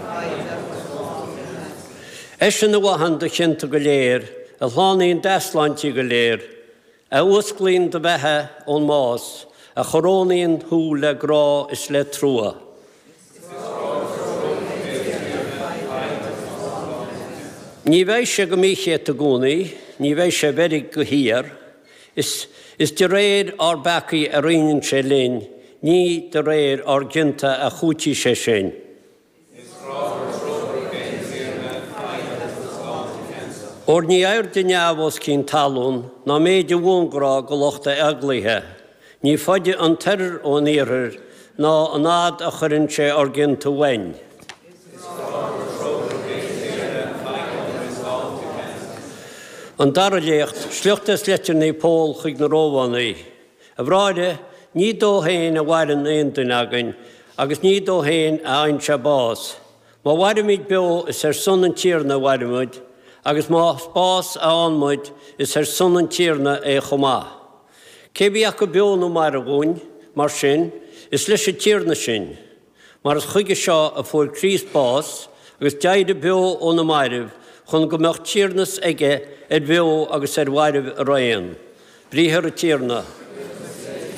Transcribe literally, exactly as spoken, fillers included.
foighid agus sláinte ceansa. Eisean a mhaitheann do chionta go léir, a shlánaíonn d'easláintí go léir, a fhuasclaíonn do bheatha ón mbás, a chorónaíonn thú le grá is le trua. Ní bheidh sé go míchéadta i gcónaí, ní bheidh sé i bhfeirg go híor, is, is de réir ár bpeacaí a roinneann sé linn, ní de réir ár gcionta a chúití sé sinn. Óir ní airde neamh os cionn talún ná méid a bhuanghrá go lucht a eaglaithe. Ní faide an t-oirthear ón iarthar ná an fhad a chuireann sé ár gcionta uainn. An dara léacht, sliocht as leitir Naomh Pól chuig na Rómhánaigh. A bhráithre, ní dó féin a mhaireann aon duine againn, agus ní dó féin a fhaigheann sé bás. Má mhairimid beo, is ar son an Tiarna a mhairimid, agus más bás a fhaigheann muid, is ar son an Tiarna é chomh maith. Cé bí acu beo nó marbh dhúinn, mar sin, is leis an Tiarna sinn. Mar is chuige seo a fuair Críost bás, agus d'éirigh beo ó na mairbh, chun go mbeadh tiarnas aige ar bheo agus ar mhairbh araon. Briathar an Tiarna.